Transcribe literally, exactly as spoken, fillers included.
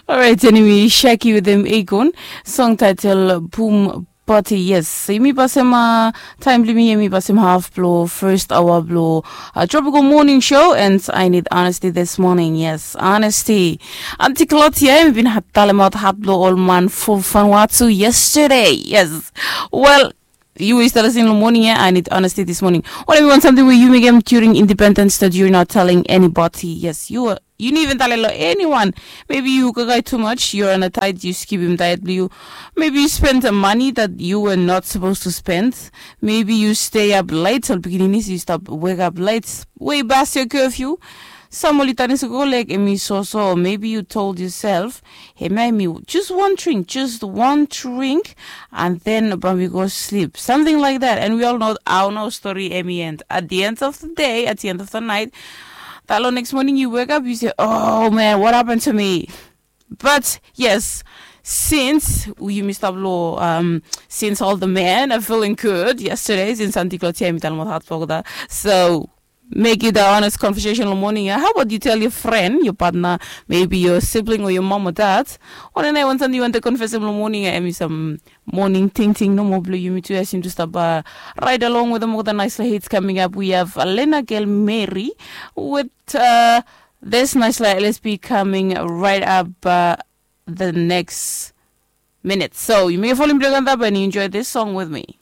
Orait, anyway, Shaki with them Akon, song title Boom Party. Yes, yumi pasem uh, time blimi yumi pasem half blo first hour blo uh, Tropical Morning Show, and I need honesty this morning. Yes, honesty. Auntie Claudia, yumi bin talem out hat blo all man for Vanuatu yesterday. Yes, well, you were still listening in the morning, yeah? I need honesty this morning. What if you want something where you make them during independence that you're not telling anybody? Yes, you are. You didn't even tell anyone. Maybe you kakai too much, you're on a diet, you skip him diet blue. Maybe you spend some money that you were not supposed to spend. Maybe you stay up late, so beginning is you stop wake up late. Way past your curfew. Some oli tanis go like emi so so. Maybe you told yourself, hey, maybe just one drink, just one drink, and then we go sleep. Something like that. And we all know our no story emi end. At the end of the day, at the end of the night, that next morning you wake up, you say, oh man, what happened to me? But yes, since you missed up law, um, since all the men are feeling good yesterday, since Auntie Claudia, so make it a honest conversation in the morning. How about you tell your friend, your partner, maybe your sibling or your mom or dad? Or then I want something you want to confess in the morning. I mean, some morning ting ting no more blue. You me too. I seem to stop uh, right along with them with a nice hits coming up. We have Elena Girl Mary with uh, this nice L S P coming right up uh, the next minute. So you may fall in blue and enjoy this song with me.